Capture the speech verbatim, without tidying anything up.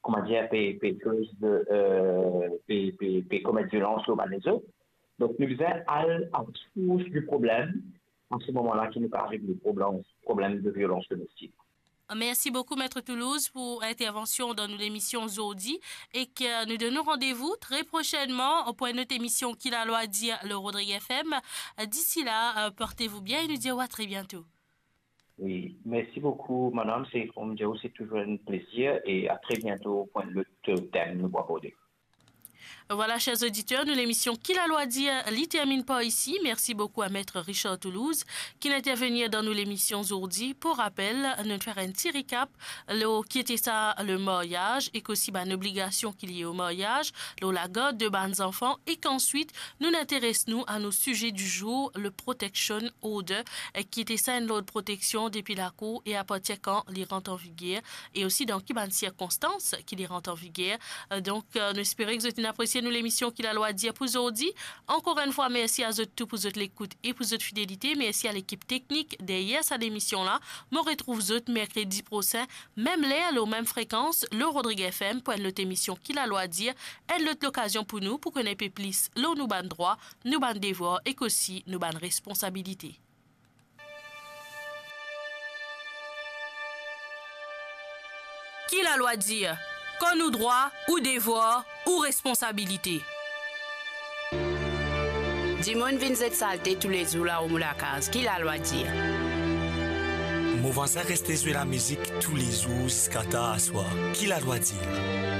kouma dir, pe, pe koz, euh, pe, pe, pe komet violans lor bann lezot. Donk, nou bizin al a sours di problem, an se moman la ki nou kapav regle problem, problem de violans domestik. Mersi boukou, Met Toulouse, pou intervansion dan nou lemision zordi, e ke nou donn ou randevou tre prosennman pou enn lot emision Ki Lalwa Dir lor Rodrigue F M. Disi la, euh, portez-vous bien e nou dir ou a tre biento. Wi, mersi boukou, madam. Se, kouma dir, se touzour enn plezir e a tre biento pou enn lot tem nou pou aborde. Vwala, ser oditer, nou lemision Ki Lalwa Dir, li terminn par isi. Mersi boukou a Met Richard Toulouse, ki inn intervenir dan nou lemision zordi. Pou rapel, nou fer enn ti rekap lor ki ete sa le maryaz, ek osi bann obligasion ki lie o maryaz, lor lagard de bann zanfan, ek answit, nou interes nou a nou size di zour, le protection order, eh, ki ete sa enn lord proteksion depi lakour e apartir kan li rant an viger, e osi dan ki bann sirkonstans ki li rant an viger. Eh, donk, eh, nou espere ki zot inn apresie nou lemision Ki Lalwa Dir pou zordi. Ankor enn fwa, mersi a zot tou pou zot lekout e pou zot fidelite. Mersi a lekip teknik deryer sa lemision la. Mo retrouv zot merkredi prosin, mem ler, lor mem frekans, lor Rodrigue F M, pou enn lot emision Ki Lalwa Dir, enn lot lokazion pou nou pou kone pe plis lor nou bann drwa, nou bann devwar ek osi nou bann responsabilite. Ki Lalwa Dir? Kan ou drwa, ou devwar, ou responsabilite. Dimoun vinn zet salte toulezour lao mo lakaz, Ki Lalwa Dir? Mo vwazin reste zwe lamizik toulezour ziska tar aswar, Ki Lalwa Dir?